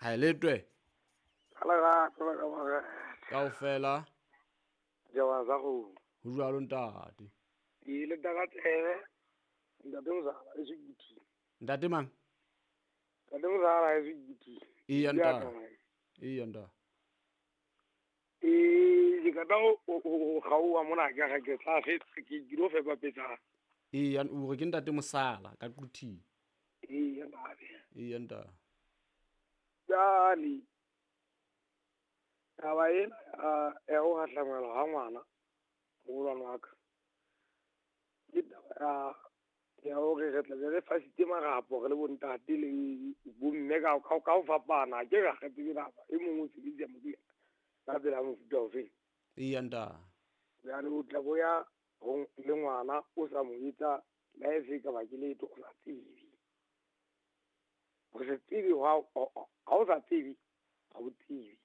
Ha e letwe. Ka lerato la ka morena. Kaofela. Jaba sa kgomo. Ho jwalo ntate. Ke ile ka tsebe. Ntate Mozala e se Ntate mang? Ntate Mozala e se Eya ntate. Eya ntate. Ke ka ho kgaoha mona ke ga ke tla fetsa ke dilo fepa petsa. Eya o re ke ntate Mosala ka Quthing. Eya ntate. Eya ntate. Jwale taba ena ya ho hahlamelwa ha ngwana moholwane wa ka ke taba ya hore re tla be re fasitse marapo re le bontate le bomme ka ho fapana. Ke ra kgetse taba e mongwe o sebedisa moriana ka tsela ya mofuta ofeng. Eya ntate. Jwale o tla boya le ngwana o sa mo etsa life ka ba ke letho o sa tsebe. Ho se tsebe ha o sa tsebe ha o tsebe.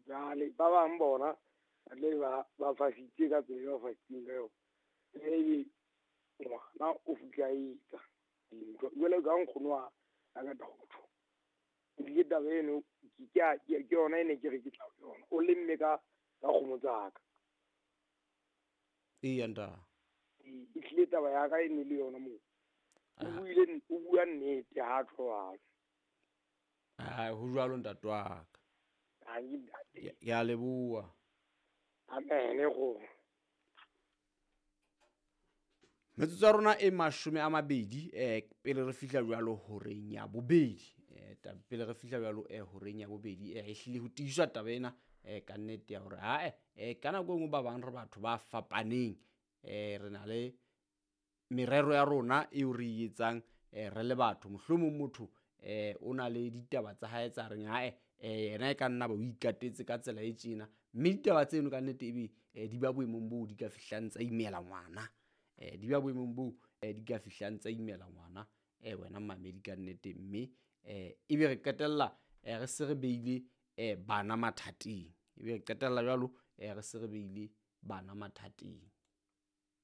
Jwale ba bang bona ba tle ba fasitse ka tsela e ba fasitseng ka yona. Ebe ngwana o fihla etsa dintho jwale ka nkgono wa ka ka tho. Ebile taba eno ke yona e ne ke re ke tla ho yona. O lemme ka kgomo tsa ka. Eya ntate. E hlile taba ya ka e ne le yona moo. O bua nnete ha tjho. Ah, ho jwalo ntate wa ka. Ke a leboha. Amen go. Metsotso ya rona e 20 pele re fihla jwalo horeng ya bobedi. Pele re fihla jwalo horeng ya bobedi e hlile ho tiiswa taba ena ka nnete ya hore ha ka nako e nngwe ba bang re batho ba fapaneng re na le merero ya rona eo re e etsang re le batho. Mohlomong motho o na le ditaba tsa hae tsa reng ha yena e ka nna ba o ikatetse ka tsela e tjena, mme ditaba tseno ka nnete ebe di ba boemong boo di ka fihlang tsa imela ngwana. Di ba boemong boo di ka fihlang tsa imela ngwana wena mmamedi ka nnete, mme ebe re qetella re se re beile bana mathateng. Ebe re qetella jwalo re se re beile bana mathateng.